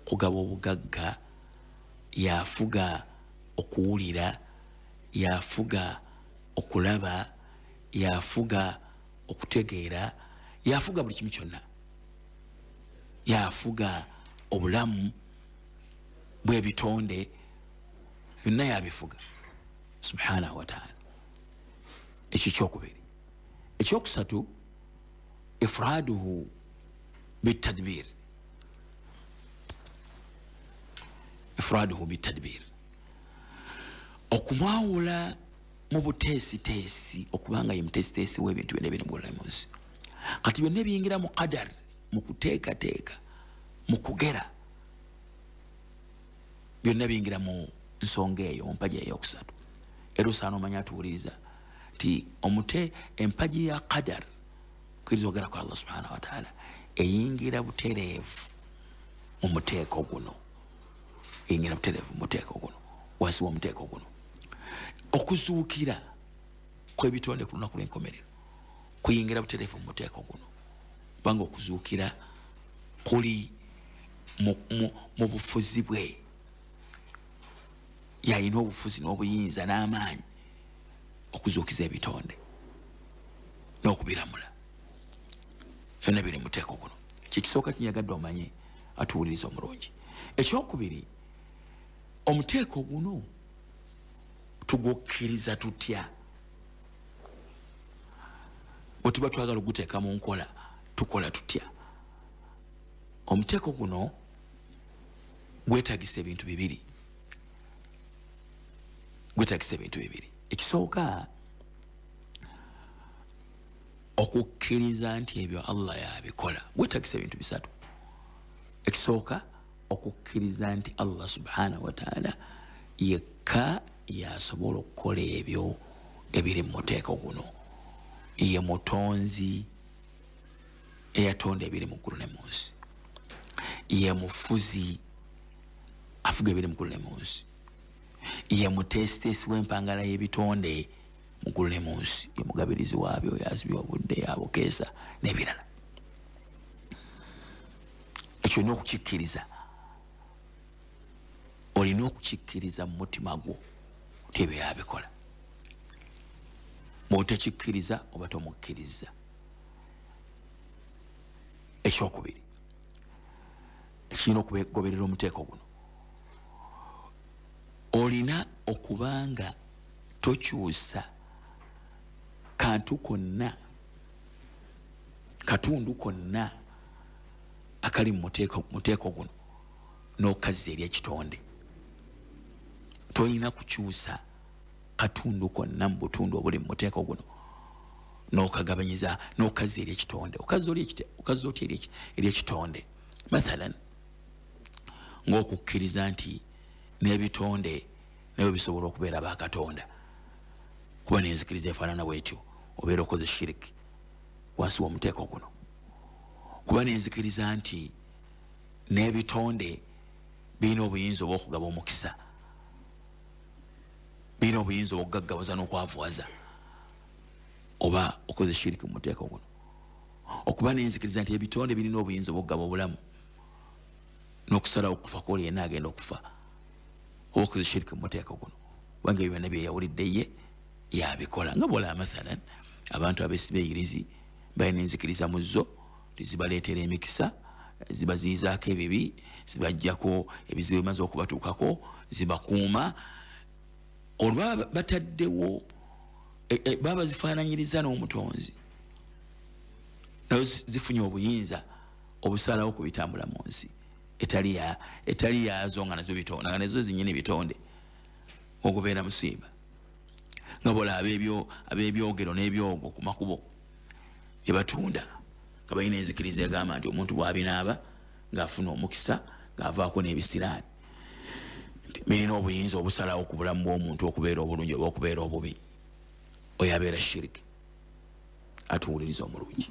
okugaba obugagga, yafuga okuwulira, yafuga okulaba, yafuga okutegeera, yafuga buli kimu kyonna, yafuga obulamu bw'ebitonde byonna, yabifuga subhanahu wataala. Ekyo kyokubiri. Ekyokusatu, ifraduhu bitadbir, ifraduhu bitadbir, okumwawula mu buteesiteesi, okubanga ye muteesiteesi w'ebintu byonna ebiri mu nsi. Kati byonna ebiyingira mu qadar, mu kuteekateeka, mu kugera, byonna biyingira mu nsonga eyo, mu mpaji eyokusatu. Era osaana omanya atuwuliriza nti omute empaji ya qadar, kukkiriza ogera kwa Allah subhanahu wataala, eyingira butereevu mu muteeko guno, eyingira butereevu mu muteeko guno, wansi w'omuteeko guno. Okuzuukira kw'ebitonde ku lunaku lw'enkomerero kuyingira butereevu mu muteeko guno, kubanga okuzuukira kuli mu bufuzi bwe. Yalina obufuzi n'obuyinza n'amaanyi okuzuukiza ebitonde n'okubiramula. Byonna biri mu muteeko guno. Kyekisooka kinyagadde omanye atuwuliriza omulungi. Ekyokubiri, omuteeko guno tugukkiriza tutya? Bwe tuba twagala oguteeka mu nkola tukola tutya? Omuteeko guno gwetagisa ebintu bibiri, gwetagisa ebintu bibiri. Ekisooka, okukkiriza nti ebyo Allah yabikola. Gwetagisa ebintu bisatu. Ekisooka, okukkiriza nti Allah subhanahu wataala yekka yasobola okukola ebyo ebiri mu muteeko guno, ye mutonzi eyatonda ebiri mu ggulu ne mu nsi, ye mufuzi afuga ebiri mu ggulu ne mu nsi, ye muteesiteesi w'empangala y'ebitonde mu ggulu ne mu nsi, ye mugabirizi waabyo, yazibya obudde, yabukeesa n'ebirala. Ekyo olina okukikkiriza, olina okukikkiriza mu mutima gwo nti ebyo yabikola. Bw'otakikkiriza oba tomukkiriza. Ekyokubiri ekirina okugoberera omuteeko guno, olina okubanga tokyusa kantu konna, katundu konna akali mu muteeko guno n'okazza eri ekitonde. Tolina kukyusa katundu konna mu butundu obuli mu muteeko guno n'okagabanyiza n'okazza eri ekitonde. Okazza otya eri ekitonde? Mathalan, ng'okukkiriza nti n'ebitonde nabyo bisobola okubeera bakatonda, kuba n'enzikiriza efaanana bwetyo obeera okoze shiriki wansi w'omuteeko guno. Kuba n'enzikiriza nti n'ebitonde birina obuyinza obw'okugaba omukisa, birina obuyinza obw'okugaggawaza n'okwavuwaza, oba okoze shiriki mu muteeko guno. Okuba n'enzikiriza nti ebitonde birina obuyinza obw'okugaba obulamu n'okusalawo okufa kwoli yenna agenda okufa, oba okoze shiriki mu muteeko guno, kubanga ebyo byonna byeyawulidde ye yabikola. Nga bwolaba mathalan abantu abesiba eyirizi balina enzikiriza mu zo tizibaleetera emikisa, zibaziyizaako ebibi, zibajjako ebizibu bimaze okubatuukako, zibakuuma. Olwa bataddewo baba bazifaananyiriza n'omutonzi, nazo zifunye obuyinza obusalawo ku bitambula mu nsi etali yaazo, nga nazo bitonde, nga nazo zinyini bitonde. Ogubeera musiiba nga bola ab'ebyogero n'ebyogo ku makubo bye batunda, nga balina enzikiriza egamba nti omuntu bw'abinaaba ng'afuna omukisa, ng'avaako n'ebisiraani, birina obuyinza obusalawo ku bulamu bw'omuntu okubeera obulungi oba okubeera obubi. Oyo abeera shiriki. Atuwuliriza omulungi.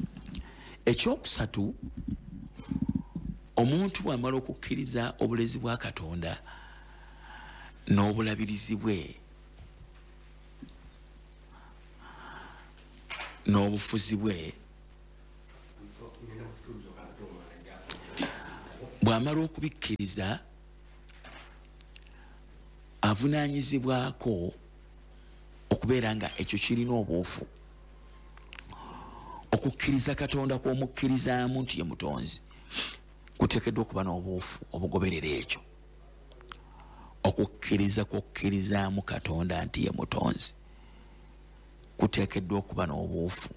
Ekyokusatu, omuntu bw'amala okukkiriza obulezi bwa Katonda n'obulabirizi bwe n'obufuzi bwe, Bw'amala okubikkiriza, avunaanyizibwako okubeera nga ekyo kirina obuufu. Okukkiriza Katonda kw'omukkirizaamu nti ye mutonzi kuteekeddwa okuba n'obuufu obugoberera ekyo. Okukkiriza kw'okkirizaamu Katonda nti ye mutonzi kuteekeddwa okuba n'obuufu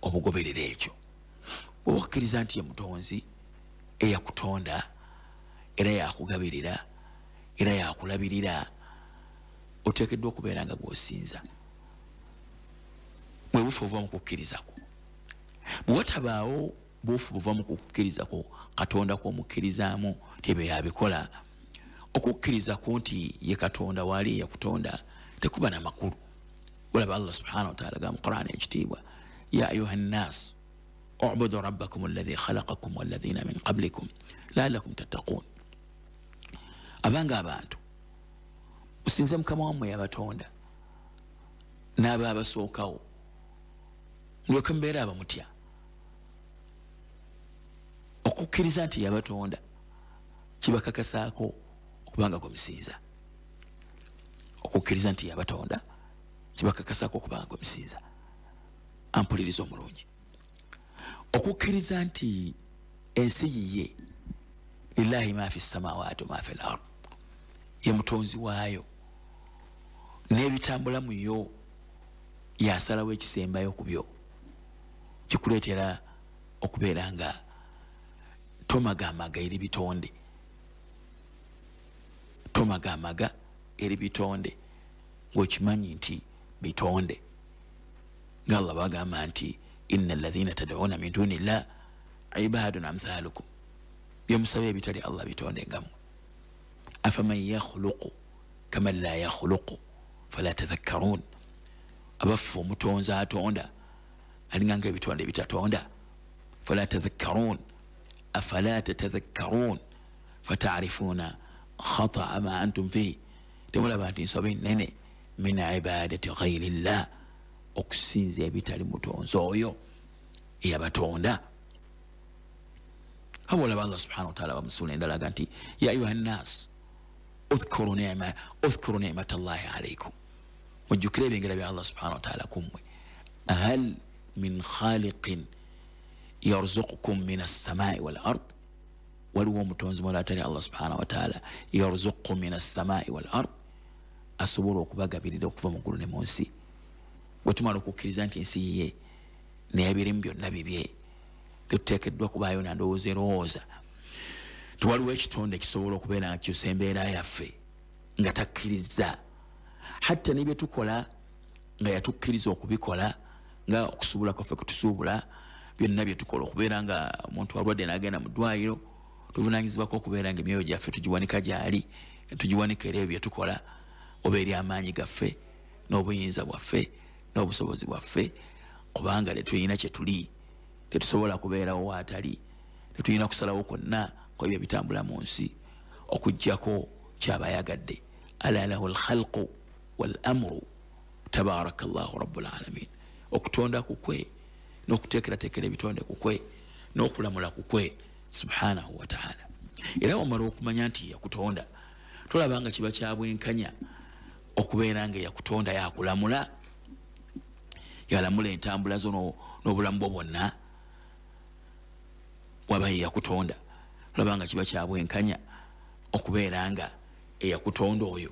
obugoberera ekyo. Bw'oba okkiriza nti ye mutonzi eyakutonda era yakugabirira era yakulabirira, oteekeddwa okubeera nga gw'osinza. Bwe buufu obuva mu kukkiriza kwo. Bwe watabaawo buufu buva mu kukkiriza kwo Katonda kw'omukkirizaamu nti ebyo yabikola, okukkiriza ku nti ye Katonda waali eyakutonda tekuba na makulu. Olaba Allah subhanahu wa ta'ala agamba mu Qur'an ekitiibwa, ya ayuha nnas ubudu rabbakum alladhi khalaqakum walladhina min qablikum la'allakum tattaqun. Abanga abantu, musinze Mukama wammwe yabatonda n'abaabasookawo, mulyoke mubeere abamutya. Okukkiriza nti yabatonda kibakakasaako okubanga gwe musinza. Okukkiriza nti yabatonda kibakakasaako okubanga gwe musinza. Ampuliriza omulungi. Okukkiriza nti ensi yiye, lillahi ma fi samawati wa ma fi al-ard, ye mutonzi waayo n'ebitambula mu yo yasalawo ekisembayo ku byo, kikuleetera okubeera nga tomagamaga eri bitonde, tomagamaga eri bitonde ng'okimanyi nti bitonde. Nga Allah bagamba nti inna alladhina tad'una min duni llah ibadun amthalukum, byemusaba ebitali Allah bitonde nga mmwe. Afaman yakhluqu kaman la yakhluqu fala tadhakkarun, abaffe omutonzi atonda alinga nga ebitonde ebitatonda. Fala tadhakkarun, afala tatadhakkarun fata'rifuna khata'a ma antum fihi, temulaba nti nsobi nnene min ibadati ghayri llah, okusinza ebitali mutonzi oyo eyabatonda. Olaba Allah subhanahu wa ta'ala bamusuula endala aga nti ya ayuha nnas udhkuru ni'mata llahi alaykum, mujjukire ebyengera bya Allah subhanahu wa ta'ala ku mmwe. Hal min khaliqin yarzuqukum min as-samai wal ard, waliwo omutonzi mulala atali Allah subhanahu wa ta'ala, yarzuqukum min as-samai wal ard, asobola okubagabirira okuva mu ggulu ne mu nsi. Bwe tumala okukkiriza nti ensi yiye n'ebirimu byonna bibye, tetuteekeddwa kubaayo na ndowooza erowooza nti waliwo ekitonde ekisobola okubeera nga kikyusa embeera yaffe nga takkiriza. Hatta ne bye tukola nga yatukkiriza okubikola, nga okusuubula kwaffe kutusuubula, byonna bye tukola okubeera nga omuntu alwadde n'agenda mu ddwaliro, tuvunaanyizibwako okubeera nga emyoyo gyaffe tugiwanika gy'ali, tugiwanika era ebyo bye tukola oba eri amaanyi gaffe n'obuyinza bwaffe n'obusobozi bwaffe, kubanga tetulina kye tuli, tetusobola kubeerawo waatali, tetulina kusalawo kwonna ku ebyo ebitambula mu nsi okuggyako ky'aba ayagadde. Ala lahu lkhalqu wal amru tabaraka llahu rabbul alamin. Okutonda kukwe n'okuteekerateekera ebitonde kukwe n'okulamula kukwe subhanahu wa ta'ala. Era wamala okumanya nti yakutonda, tolaba nga kiba kya bwenkanya okubeera nga yakutonda yakulamula, yalamula entambula zo n'obulamu bwo bwonna waba ye yakutonda. Tolaba nga kiba kya bwenkanya okubeera nga eyakutonda oyo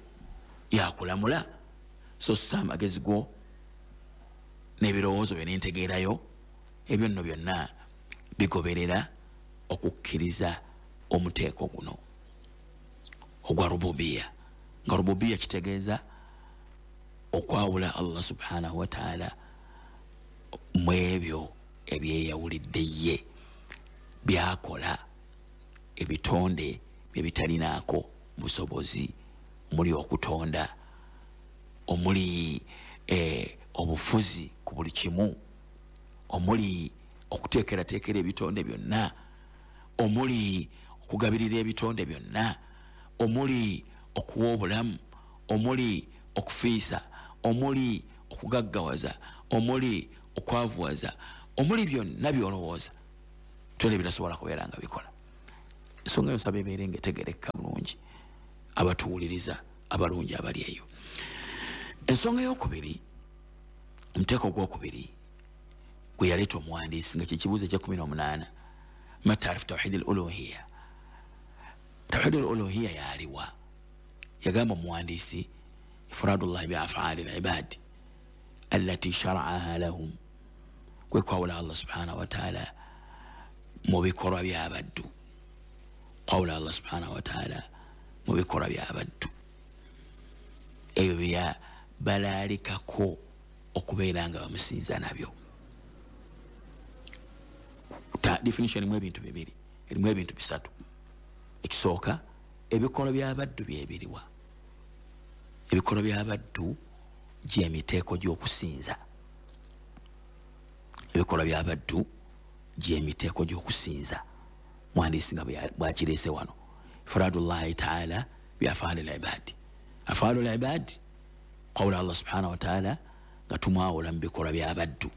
yakulamula, so ssa amagezi go n'ebirowoozo byo n'entegeerayo, ebyo nno byonna bigoberera okukkiriza omuteeko guno ogwa rububiya. Nga rububiya kitegeeza okwawula Allah subhanahu wa ta'ala mu ebyo ebyeyawulidde ye byakola, ebitonde bye bitalinaako busobozi, omuli okutonda, omuli obufuzi ku buli kimu, omuli okuteekerateekera ebitonde byonna, omuli okugabirira ebitonde byonna, omuli okuwa obulamu, omuli okufiisa, omuli okugaggawaza, omuli okwavuwaza, omuli byonna by'olowooza tole bitasobola kubeera nga bikola. Ensonga eyo nsaba ebeere nga etegerekeka bulungi abatuwuliriza abalungi abali eyo. Ensonga eyokubiri, omuteeko ogwokubiri gwe yaleeta omuwandiisi nga kyekibuuzo ekye18, ma taarifu tawhidi al uluhiya. Tawhidi al uluhiya yaliwa? Yagamba omuwandiisi ifradullahi bi afaali al ibadi allati sharaaha lahum, kwe kwawula Allah subhanahu wa taala mu bikolwa by'abaddu. Kwawula Allah subhanahu wa taala mu bikolwa by'abaddu ebyo bya balaalikako okubeera nga bamusinza nabyo. Definition erimu ebintu bibiri, erimu ebintu bisatu. Ekisooka, ebikolwa by'abaddu byebiriwa? Ebikolwa by'abaddu gy'emiteeko gy'okusinza. Ebikolwa by'abaddu gy'emiteeko gy'okusinza. Mwandiisi nga bw'akireese wano, ifradullahi taala bi afaali l-ibadi. Afaalu l-ibadi kwawula Allah subhanahu wa taala nga tumwawula mu bikolwa by'abaddu,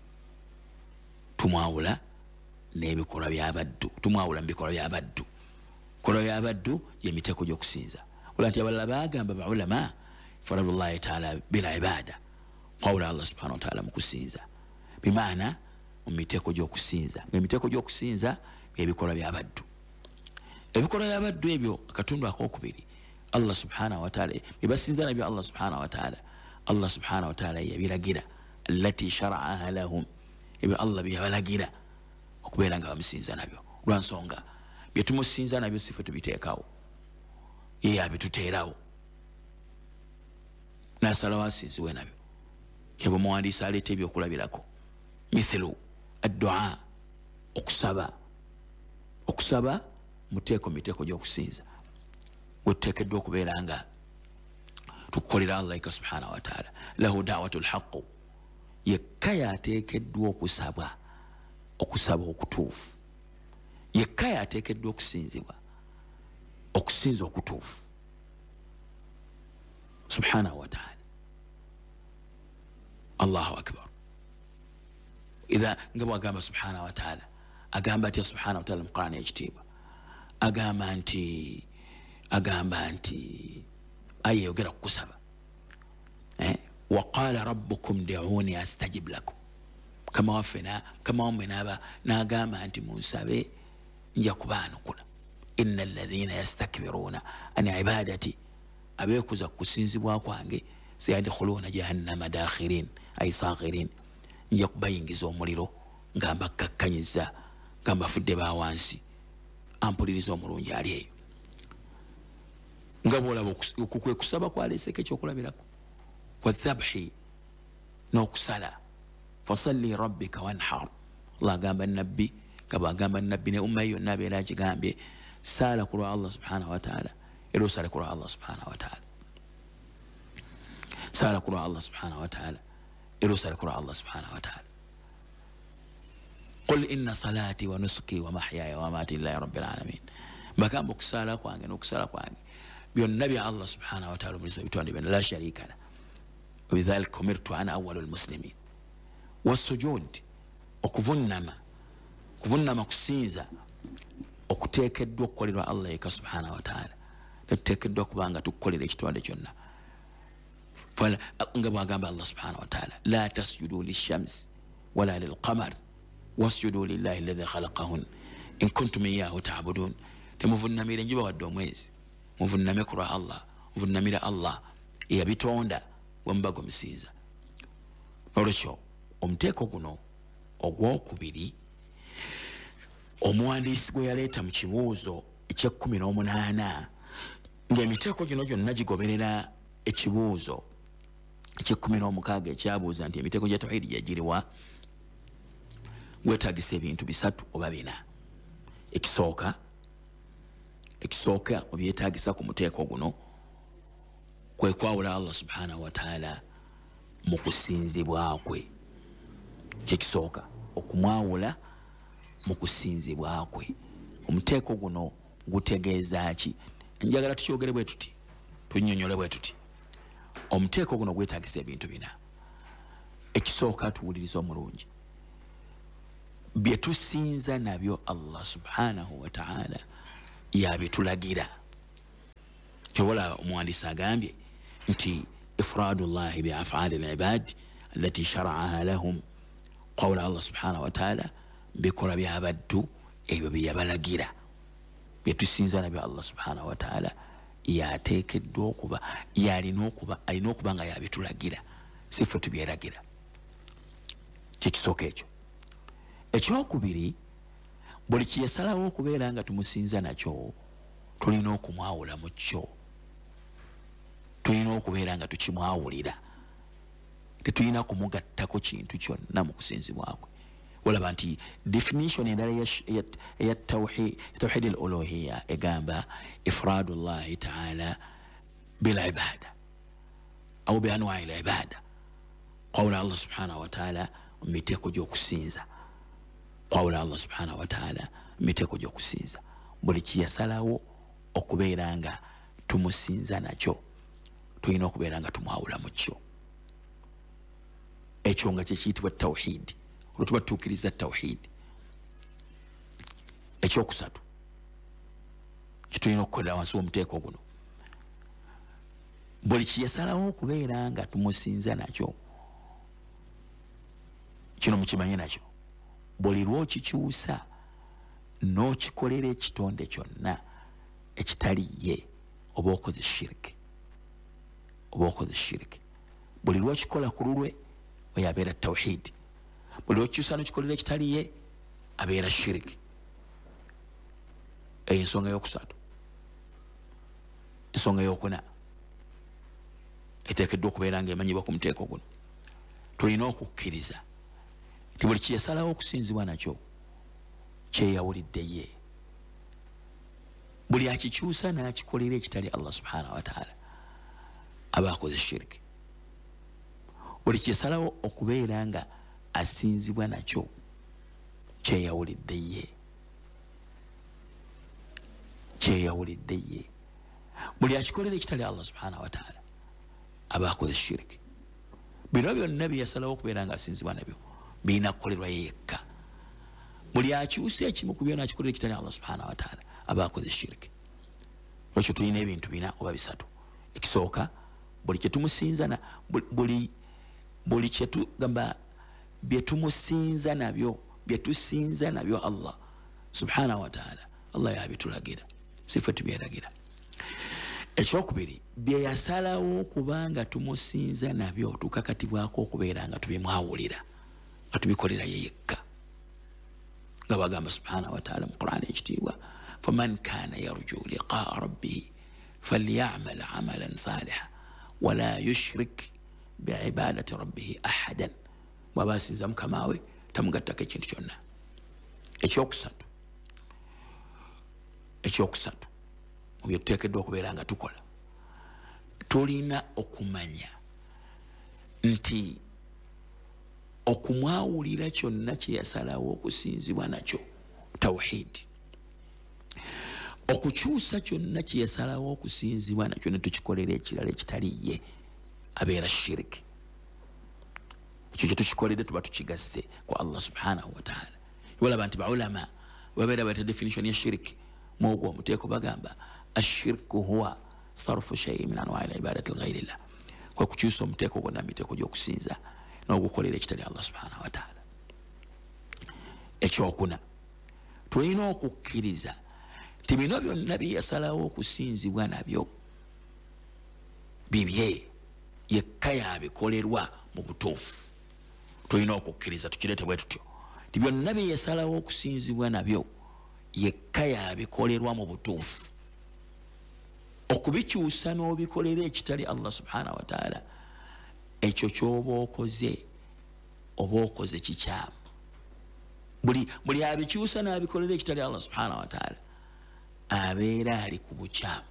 tumwawula n'ebikolwa by'abaddu, tumwawula mu bikolwa by'abaddu. Bikolwa by'abaddu gy'emiteeko gy'okusinza. Wala nti abalala bagamba baulama ifradullahi taala bil ibada, kwawula Allah subhanahu wa taala mu kusinza, bimaana mu miteeko gy'okusinza. Emiteeko gy'okusinza ebikolwa by'abaddu. Ebikolwa by'abaddu ebyo akatundu akokubiri Allah subhanahu wa taala byebasinza nabyo Allah subhanahu wa taala, Allah subhanahu wa taala yabiragira allati sharaaha lahum, ebyo Allah byeyabalagira okubeera nga bamusinza nabyo. Lwansonga byetumusinza nabyo sife tubiteekawo, ye yabituteerawo nasalawo asinziwe nabyo. Kyava omuwandiisi aleeta ebyokulabirako, mithlu addua, okusaba. Okusaba muteeko miteeko gy'okusinza gwetuteekeddwa okubeera nga tukukolera Allah eka subhanahu wa taala. Lahu dawatu lhaqu, yekka yateekeddwa okusaba, okusaba okutuufu. Yekka yateekeddwa okusinzibwa, okusinza okutuufu subhanahu wa taala. Allahu akbar. Idha nga bwagamba subhanahu wa taala, agamba atya subhanahu wa taala mu Qur'ani ekitiibwa? Agamba nti aya eyogera ku kusaba, waqala rabbukum duuni astajib lakum, kama wammwe n'agamba nti munsabe nja kubaanukula. Inna alladhina yastakbiruna an ibadati, abeekuza ku kusinzibwa kwange, sayadkhuluna jahannama dakhirin ay saghirin, nja kubayingiza omuliro nga mbakakkanyiza, nga mbafudde ba wansi. Ampuliriza omulungi ali eyo nga bwolaba kwe kusaba kwaleeseko ekyokulabirako, wadhabhi, n'okusala, fasalli rabbika wanhar. Allah agamba nabbi, nga bwagamba nabbi ne umma yonna abeera akigambye, saala ku lwa Allah subhanahu wa taala, era osale ku lwa Allah subhanahu wa taala. Saala ku lwa Allah subhanahu wa taala, era osale ku lwa Allah subhanahu wa taala. Qul inna salati wa nusuki wa mahyaya wa mamati lillahi rabbil alamin. Mbagamba okusaala kwange n'okusala kwange byonna bya Allah subhanahu wa taala omulezi w'ebitonde byonna, la sharika lah, wabidhalika umirtu ana awwalu lmuslimin. Wasujud, okuvunnama, kuvunnama kusinza okuteekeddwa okukolerwa Allah yekka subhanahu wa taala. Tetuteekeddwa kubanga tukukolera ekitonde kyonna. Nga bwagamba Allah subhanahu wa taala, la tasjudu lishams wala lilqamar wasjudu lillahi alladhi khalaqahun in kuntum iyahu ta'budun. Temuvunnamire enjuba wadde omwezi, muvunname ku lwa Allah, muvunnamire Allah eyabitonda bwe muba gwemusinza. Nolwekyo omuteeko guno ogwokubiri omuwandiisi gwe yaleeta mu kibuuzo ekye18, ng'emiteeko gino gyonna gigoberera ekibuuzo ekye16 ekyabuuza nti emiteeko gya tawhidi gyegiriwa, gwetaagisa ebintu bisatu oba bina. Ekisooka obyetaagisa ku muteeko guno kwe kwawula Allah subhanahu wa taala mu kusinzibwa kwe. Kyekisooka, okumwawula mu kusinzibwa kwe. Omuteeko guno gutegeeza ki? Njagala tukyogere bwe tuti, tunnyonnyole bwe tuti. Omuteeko guno gwetaagisa ebintu bina. Ekisooka, tuwuliriza omulungi, bye tusinza nabyo Allah subhanahu wa taala Yabitulagira. Kyobola omuwandiisi agambye nti ifradu llahi bi afali libad allati sharaaha lahum, qawla Allah subhanahu wataala bikolwa byabaddu ebyo byeyabalagira byetusinza nabyo. Allah subhanahu wataala yateekeddwa okuba, yalina okuba, alina okuba nga yabitulagira, si ffe tubyeragira. Kyekisooka ekyo. Ekyokubiri, buli kyeyasalawo okubeera nga tumusinza nakyo, tulina okumwawula mu kyo, tulina okubeera nga tukimwawulira, tetulina kumugattako kintu kyonna mu kusinzibwa kwe. Olaba nti definition endala eya tawhid al uluhiya egamba ifradu llahi taala bilibada au bianwai libada, qawla Allah subhanahu wataala mu miteeko gy'okusinza, qawla Allah subhanahu wataala mu miteeko gy'okusinza. Buli kyeyasalawo okubeera nga tumusinza nakyo, tulina okubeera nga tumwawula mu kyo. Ekyo nga kyekiyitibwa tawhidi, olwo tuba tutuukiriza tawhidi. Ekyokusatu kitulina okukolera wansi w'omuteeko guno, buli kyeyasalawo okubeera nga tumusinza nakyo, kino mukimanye nakyo, buli lwokikyusa n'okikolera ekitonde kyonna ekitali ye, oba okoze shiriki, oba okoze shiriki. Buli lwokikola ku lulwe oyo abeera tawhidi, buli lwokikyusa n'okikolera ekitali ye abeera shiriki. Eyo ensonga yokusatu. Ensonga yokuna eteekeddwa okubeera nga emanyibwa ku muteeko guno, tulina okukkiriza nti buli kyeyasalawo okusinzibwa nakyo kyeyawulidde ye. Buli akikyusa n'akikolera ekitali Allah subhanahu wataala aba akoze shiriki. Buli kyeyasalawo okubeera nga asinzibwa nakyo kyeyawulidde ye, kyeyawulidde ye. Buli akikolera ekitali Allah subhanahu wataala aba akoze shiriki. Bino byonna byeyasalawo okubeera nga asinzibwa nabyo birina kukolerwa ye yekka. Buli akyusa ekimu ku byonna akikolera ekitali Allah subhanahu wataala aba akoze shiriki. Lwekyo tulina ebintu bina oba bisatu. Ekisooka, buli kyetumusinza, buli kyetugamba byetumusinza nabyo, byetusinza nabyo Allah subhanahu wataala, Allah yabitulagira, si ffe tubyeragira. Ekyokubiri, byeyasalawo okubanga tumusinza nabyo tukakatibwako okubeera nga tubimwawulira, nga tubikolera ye yekka, nga bagamba subhanahu wataala mu Qur'ani ekitiibwa, faman kana yarju liqaa rabbihi falyamal amalan saliha wala yushrik biibadati rabbihi ahadan. Bwaba asinza mukama we tamugattako ekintu kyonna. Ekyokusatu, ekyokusatu mu byetuteekeddwa okubeera nga tukola, tulina okumanya nti okumwawulira kyonna kyeyasalawo okusinzibwa nakyo tawhidi, okukyusa kyonna kyeyasalawo okusinzibwa nakyo ne tukikolera ekirala ekitali ye abeera shiriki. Ekyo kyetukikoledde tuba tukigasse ku Allah subhanahu wataala. Olaba nti baulama babeera bata definition ya shiriki mwogwo omuteeko, bagamba ashirku huwa sarfu shai min anwai libadati lghairillah, kwe kukyusa omuteeko gwonna miteeko gy'okusinza n'ogukolera ekitali Allah subhanahu wataala. Ekyokuna, tulina okukkiriza nti bino byonna byeyasalawo okusinzibwa nabyo bibye yekka yabikolerwa mu butuufu. Tulina okukkiriza tukireete bwe tutyo nti byonna byeyasalawo okusinzibwa nabyo yekka yabikolerwa mu butuufu. Okubikyusa n'obikolera ekitali Allah subhanahu wataala, ekyo kyoba okoze oba okoze kikyamu. Buli abikyusa n'abikolera ekitali Allah subhanahu wataala abeera ali ku bukyamu,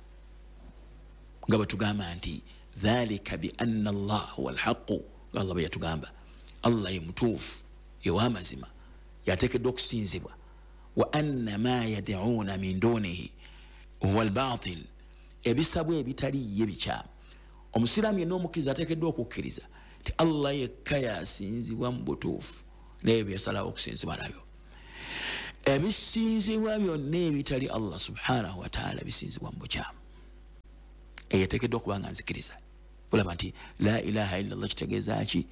nga bwe tugamba nti dhalika bi anna Allah huwa alhaqu, nga Allah bwe yatugamba Allah ye mutuufu, ye w'amazima, yateekeddwa okusinzibwa, wa anna ma yad'uuna min dunihi huwa albatil, ebisabwa ebitali ye bikyamu. Omusiraamu yenna omukkiriza ateekeddwa okukkiriza nti Allah yekka yasinzibwa mu butuufu n'ebyo byeyasalawo okusinzibwa nabyo. Ebisinzibwa byonna ebitali Allah subhanahu wataala bisinzibwa mu bukyamu. Eyeteekeddwa okuba nga nzikiriza olaba nti la ilaha illa llah kitegeeza ki?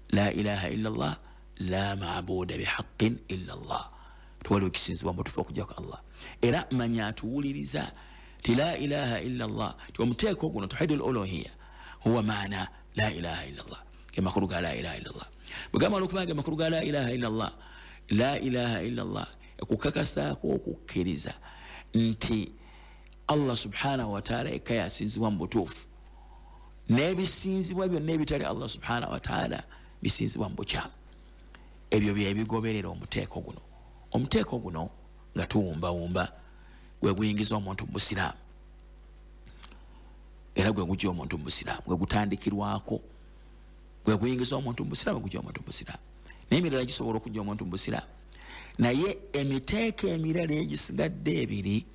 La ilaha illa llah la mabuda bihaqin illa llah, tewaliwo kisinzibwa mubutuufu okujjako Allah. Era manya atuwuliriza ti la ilaha illa llah, ti omuteeko guno tauhidu l uluhiya huwa maana la ilaha illa llah, ge makulu ga la ilaha illa llah. Bwegamba olwokubanga ge makulu ga la ilaha illa llah, la ilaha illa llah ekukakasaako okukkiriza nti Allah subhanahu wataala ekka yasinzibwa mu butuufu, n'ebisinzibwa byonna ebitali Allah subhanahu wataala bisinzibwa mu bukyamu. Ebyo byebigoberera omuteeko guno. Omuteeko guno nga tuwumbawumba gwe guyingiza omuntu mu busiraamu, era gwe gujja omuntu mu busiraamu, gwe gutandikirwako, gwe guyingiza omuntu mu busiraamu, gujja omuntu mu busiraamu. Naye emirala gisobola okujja omuntu mu busiraamu, naye emiteeko emirala egisigadde ebiri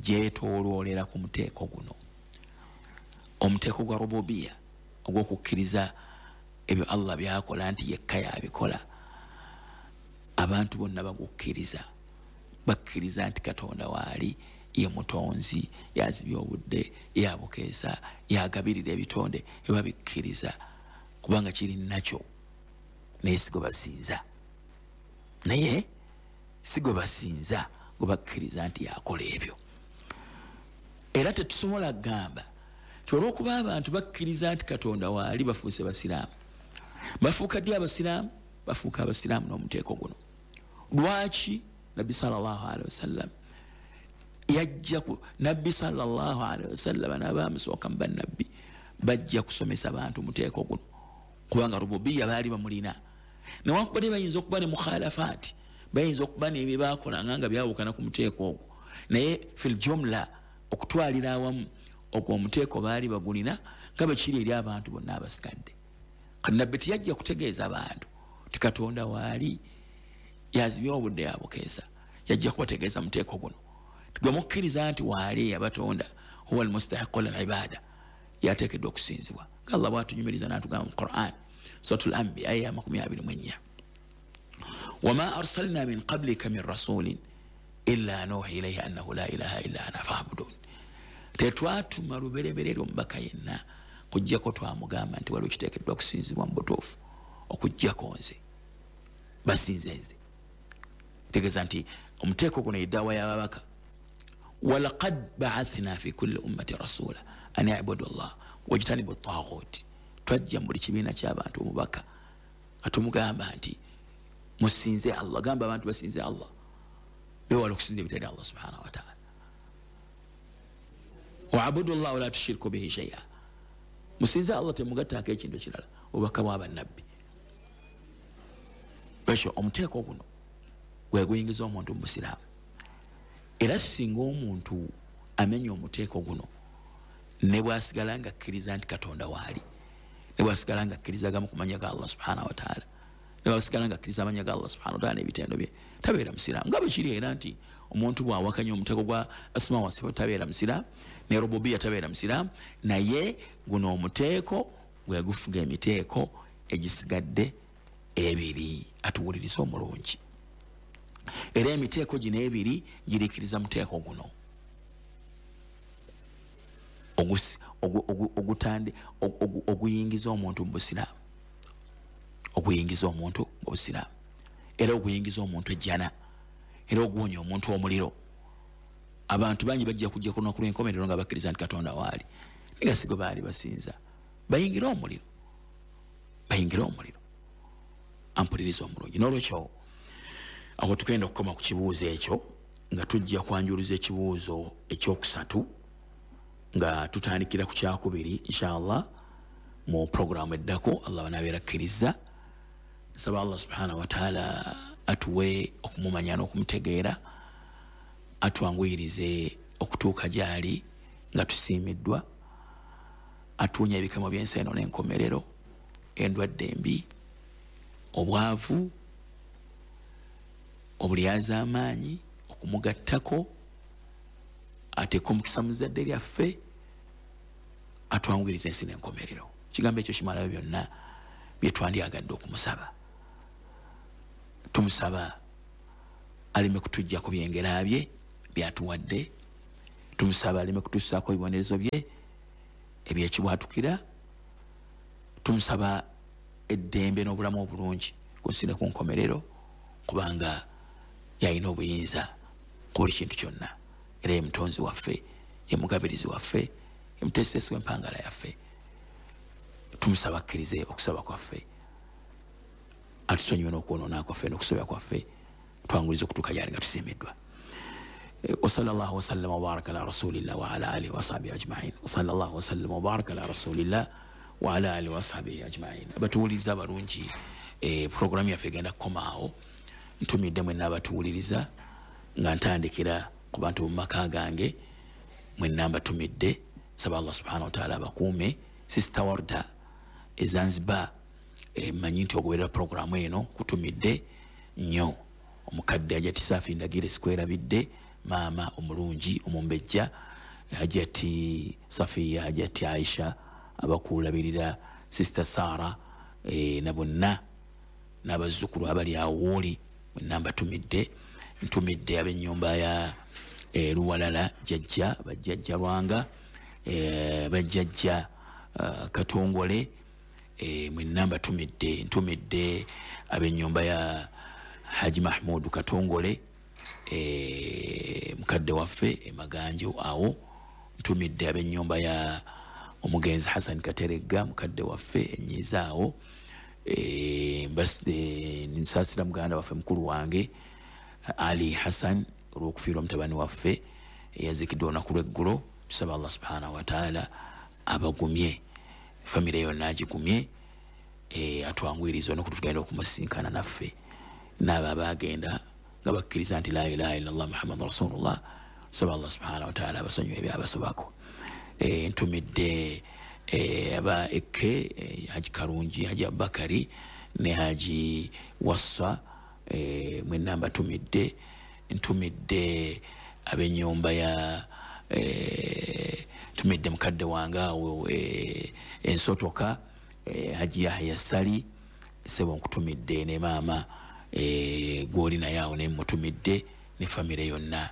gyetooloolera ku muteeko guno. Omuteeko gwa rububiya, ogw'okukkiriza ebyo Allah byakola nti yekka yabikola, abantu bonna bagukkiriza, bakkiriza nti Katonda waali, ye mutonzi, yazibya obudde, yabukeesa, yagabirira ebitonde, ebabikkiriza kubanga kiri nakyo, naye si gwe basinza, naye si gwe basinza gwe bakkiriza nti yakola ebyo. Era tetusobola kugamba nti olw'okuba abantu bakkiriza nti Katonda waali bafuuse basiraamu. Bafuuka ddi abasiraamu? Bafuuka abasiraamu n'omuteeko guno. Lwaki Nabbi sallallahu alaihi wasallam yajja ku Nabbi sallallahu alaihi wasallam n'abamusooka mu bannabbi bajja kusomesa abantu muteeko guno, kubanga rububiya baali bamulina. Newankubadde bayinza okuba ne mukhalafaati, bayinza okuba n'ebye baakolanga nga byawukana ku muteeko ogwo, naye fil jumla, okutwalira awamu, ogwo omuteeko baali bagulina nga bwe kiri eri abantu bonna abasigadde. Kati Nabbi teyajja kutegeeza abantu ti Katonda waali, yazibya obudde yabukeesa, yajja kubategeeza muteeko guno. Gwe mukkiriza nti waali yabatonda, huwa almustahiqu lil ibada, yateekeddwa okusinzibwa nga Allah bw'atunyumiriza n'atugamba mu Quran Suratul Anbiya aya ya 24, wama arsalna min qablika min rasulin illa nuhi ilayhi annahu la ilaha illa ana fa'budun. Tetwatuma lubereberere omubaka yenna kujjako twamugamba nti waliwo kiteekeddwa kusinzibwa mu butuufu okujjako nze, basinze nze. Tegeeza nti omuteeko guno yedaawa y'ababaka. Walaqad ba'athna fi kulli ummati rasula an i'budu llah wajtanibu taghut. Twajja mu buli kibiina ky'abantu omubaka atumugamba nti musinze Allah, gamba abantu basinze Allah, bewala okusinza ebitali Allah subhanahu wataala. Waabudu llah wala tushiriku bihi shay'a, musinze Allah temugattaako ekintu ekirala. Obubaka bw'abannabbi. Ekyo omuteeko guno gwe guyingiza omuntu mu busiraamu. Era singa omuntu amenya omuteeko guno, ne bw'asigala nga akkiriza nti Katonda waali, ne bw'asigala nga akkiriza agamu ku mannya ga Allah subhanahu wataala, ne bw'asigala nga akkiriza amannya ga Allah subhanahu wataala n'ebitendo bye, tabeera musiraamu. Nga bwe kiri era nti omuntu bw'awakanya omuteeko gwa asma wa sifat tabeera musiraamu, ne rububiya tabeera musiraamu, naye guno omuteeko gwe gufuga emiteeko egisigadde ebiri. Atuwuliriza omulungi. Era emiteeko gino ebiri girikiriza muteeko guno oguyingiza omuntu mu busiraamu, oguyingiza omuntu mu busiraamu, era oguyingiza omuntu ejjana, era oguwonya omuntu omuliro. Abantu bangi bajja kujja ku lunaku lw'enkomerero nga bakkiriza nti Katonda waali, naye nga si gwe baali basinza, bayingire omuliro, bayingire omuliro. Ampuliriza omulungi. N'olwekyo awo tugenda okukoma ku kibuuzo ekyo, nga tujja kwanjuluza ekibuuzo ekyokusatu nga tutandikira ku kyakubiri inshallah mu programu eddako, Allah banabeera akkiriza. Nsaba Allah subhanahu wataala atuwe okumumanya n'okumutegeera, atwanguyirize okutuuka gy'ali nga tusiimiddwa, atuwonya ebikemo by'ensi eno n'enkomerero, endwadde embi, obwavu, obulyazaamaanyi, okumugattako, ateeka omukisa mu zzadde lyaffe, atwanguyiriza ensi n'enkomerero. Kigambo ekyo kimalayo byonna bye twandyagadde okumusaba. Tumusaba aleme kutujjako byengera bye byatuwadde. Tumusaba aleme kutusaako ebibonerezo bye ebyekibwatukira. Tumusaba eddembe n'obulamu obulungi ku nsi ne ku nkomerero, kubanga yalina obuyinza ku buli kintu kyonna, era ye mutonzi waffe, ye mugabirizi waffe, ye muteesiteesi w'empangala yaffe. Tumusaba akkirize okusaba kwaffe, atusonyiwe n'okwonoona kwaffe n'okusobya kwaffe, twangulize okutuuka gyali nga tusiimiddwa. وصلى الله وسلم وبارك على رسول الله وعلى آله وصحبه أجمعين. وصلى الله وسلم وبارك على رسول الله وعلى آله وصحبه أجمعين. Abatuwuliriza abalungi, programu yaffe egenda kukomaawo. Ntumidde mwenna abatuwuliriza nga ntandikira ku bantu mu maka gange, mwenna mbatumidde. Saba Allah subhanahu wa ta'ala abakuume. Sister Warda e Zanzibar, mmanyi nti ogoberera programu eno, kutumidde nnyo. Omukadde Hajati Safi Ndagire sikwerabidde, maama omulungi omumbejja Hajati Safiya, Hajati Aisha abakulabirira, Sister Sara na bonna n'abazzukulu abali awo wooli, mwenna mbatumidde. Ntumidde ab'ennyumba ya Luwalala jjajja, bajjajja Lwanga, bajjajja Katongole, mwenna mbatumidde. Ntumidde ab'ennyumba ya Haji Mahmud Katongole, mukadde waffe emaganjo awo. Ntumidde ab'ennyumba ya omugenzi Hassan Kateregga, mukadde waffe enyiza awo. Nsaasira muganda waffe mukulu wange Ali Hassan olw'okufiirwa mutabani waffe eyaziikiddwa olunaku lw'eggulo. Tusaba Allah subhanahu wa ta'ala abagumye, famire yonna agigumye, atwanguyirize olunaku tugenda okumusisinkana naffe n'abo abaagenda nga bakkiriza nti la ilaha illallah Muhammad rasulullah. Tusaba Allah subhanahu wa ta'ala abasonyiwe ebyabasobako. Ntumidde aba Eke, Haji Karungi, Haji Abubakari ne Haji Wassa, mwenna mbatumidde. Ntumidde ab'ennyumba ya ntumidde mukadde wange awo ensotoka, Haji Yahya Sali, sebo nkutumidde, ne maama gw'oli naye awo ne mutumidde ne famire yonna.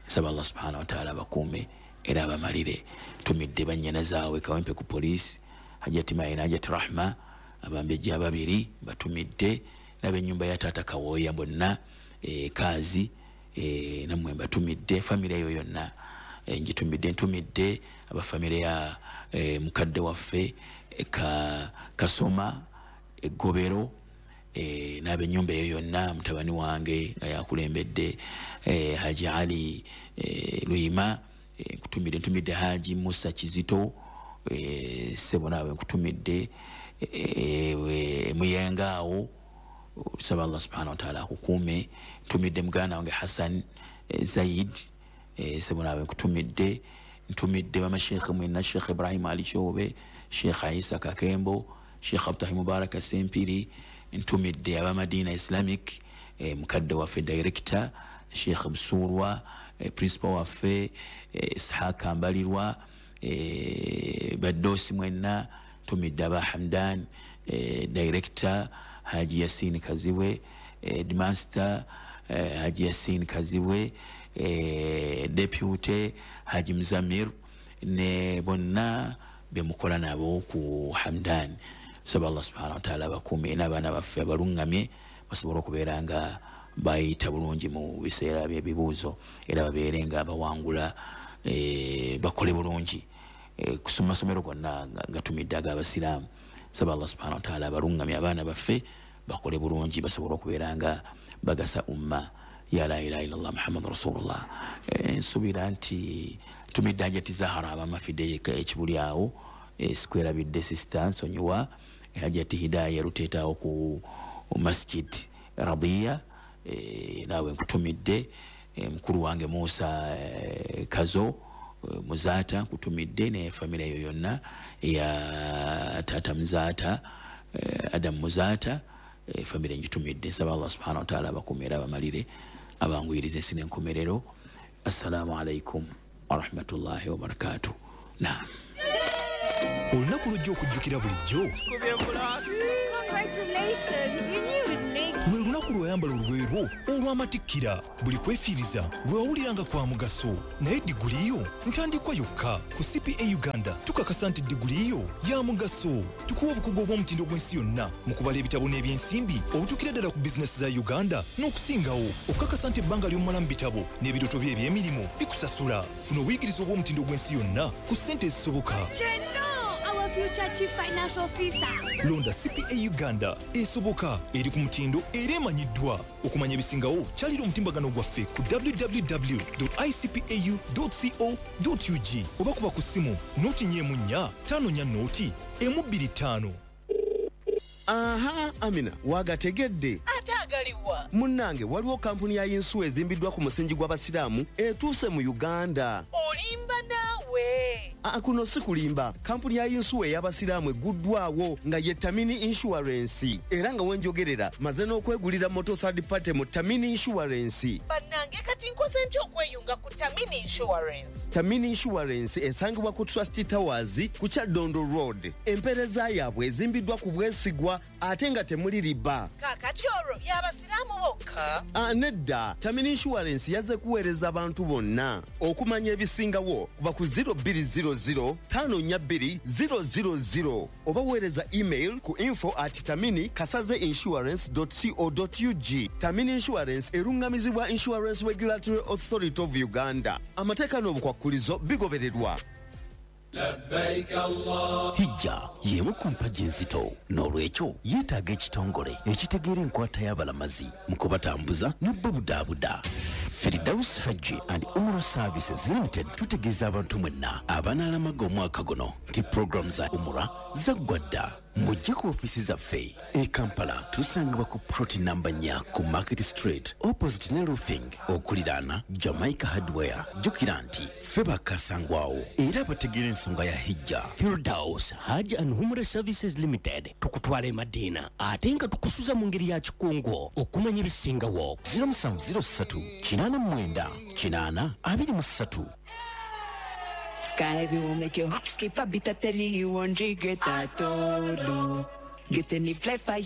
Nsaba Allah subhanahu wa ta'ala abakuume era abamalire. Ntumidde bannyana zaabwe Kawempe ku poliisi, Hajati Maina, Hajati Rahma, abambejja ababiri batumidde, n'ab'ennyumba ya taata Kawooya bonna, Kaazi, nammwe mbatumidde. Famire eyo yonna ngitumidde. Ntumidde abafamire ya mukadde waffe Kasoma Eggobero, n'ab'ennyumba eyo yonna, mutabani wange nga yakulembedde Haji Ali Luyima, nkutumidde. Ntumidde Haji Musa Kizito, ssebo naawe nkutumidde, Muyenga awo. Tusaba Allah subhanahu wa ta'ala akukuume. Ntumidde muganda wange Hassan Zaid, ssebo naawe nkutumidde. Ntumidde bamashekhe mwenna, Sheikh Ibrahim Ali Kyobe, Sheikh Isa Kakembo, Sheikh Abdahi Mubaraka Sempiri. Ntumidde abamadina Islamic, mukadde waffe director Sheikh Busurwa, principal waffe Ishaq Mbalirwa, baddosi mwenna. Ntumidde aba Hamdan, director Haji Yasin Kazibwe, headmaster Haji Yasin Kazibwe, deputy Haji Mzamir, ne bonna bemukola nabo ku Hamdan. Saba Allah subhanahu wa ta'ala abakuume n'abaana baffe abalungamye basobole okubeera nga bayita bulungi mu biseera by'ebibuuzo, era babeere nga bawangula, bakole bulungi ku masomero gonna gatumidde ag'abasiraamu. Saba Allah subhanahu wa ta'ala abalungamye abaana baffe bakole bulungi basobole okubeera nga bagasa umma ya la ilaha illallah Muhammad rasulullah. Nsuubira nti ntumidde Hajati Zahara abamafidde ekibuli awo, sikwerabidde sister nsonyiwa Hajati Hidaya Ruteeta ku Masjid Radiya, naawe nkutumidde. Mukulu wange Musa Kazo Muzaata nkutumidde ne famire eyo yonna ya taata Muzaata, Adam Muzaata, famire ngitumidde. Nsaba Allah subhanahu wa ta'ala abakuume era abamalire, abanguyirize ensi n'enkomerero. Assalamu alaikum warahmatullahi wabarakatuh. Naam. Olunaku lujja okujjukira bulijjo. Congratulations! We knew we'd make Lwe lunaku lweyambala olugoye lwo olw'amatikkira. Buli kwefiiriza lwe wawulira nga kwa mugaso, naye diguli yo ntandikwa yokka. Ku CPA Uganda tukakasa nti diguli yo ya mugaso. Tukuwa obukugu obw'omutindo gw'ensi yonna mu kubala ebitabo n'ebyensimbi obutuukira ddala ku bizinesi za Uganda n'okusingawo, okukakasa nti ebbanga ly'omala mu bitabo n'ebirooto bye eby'emirimu bikusasula. Funa obuyigirize obw'omutindo gw'ensi yonna ku ssente ezisoboka. Treno, our future chief financial officer. Londa CPA Uganda, esoboka, eri ku mutindo era emanyiddwa. Okumanya ebisingawo, kyalira omutimbagano gwaffe ku www icpau co ug oba kuba ku ssimu 044 54 125. Aha, Amina, wagategedde? Ate agaliwa? Munnange, waliwo kampuni ya yinsuwa ezimbiddwa ku musingi gw'Abasiraamu etuuse mu Uganda. Olimba naawe. Aa, kuno si kulimba. Kampuni ya yinsuwa ey'Abasiraamu egguddwawo nga ye Tamini Insurance, era nga wenjogerera maze n'okwegulira moto third party mu Tamini Insurance. Bannange, kati nkoze ntya okweyunga ku Tamini Insurance? Tamini Insurance esangibwa ku Trust Towers ku Kyaddondo Road. Empeereza yaabwe ezimbiddwa ku bwesigwa ate nga temuli riba. Kaakati olwo y'Abasiraamu bokka? Ah, nedda. Tamini Insurance yazze kuweereza abantu bonna. Okumanya ebisingawo, kuba ku 0200 542 000 oba weereza email ku info@taminikasaze insurance co ug. Tamini Insurance eruŋŋamizibwa Insurance Regulatory Authority of Uganda. Amateeka n'obukwakkulizo bigobererwa. Hijja y'emu ku mpagi enzito, n'olwekyo yeetaaga ekitongole ekitegeera enkwata y'abalamazi mu kubatambuza n'obbabudaabuda. Firdaus Hajji and Umrah Services Limited tutegeeza abantu mwenna abanaalamaga omwaka guno nti puroguramu za umura zaggwa dda. Mujje ku ofiisi zaffe e Kampala, tusangibwa ku plot namba 4 ku Market Street, opposite ne Roofing, okuliraana Jamaica Hardware. Jjukira nti ffe bakasangwawo era abategeera ensonga ya hijja. Firdaus Hajj and Umrah Services Limited, tukutwala e Madiina ate nga tukusuza mu ngeri ya kikungu. Okumanya ebisingawo, 0703 89 823. Sky will make your heart skip a beat. I tell you, you won't regret at all. Get any flight for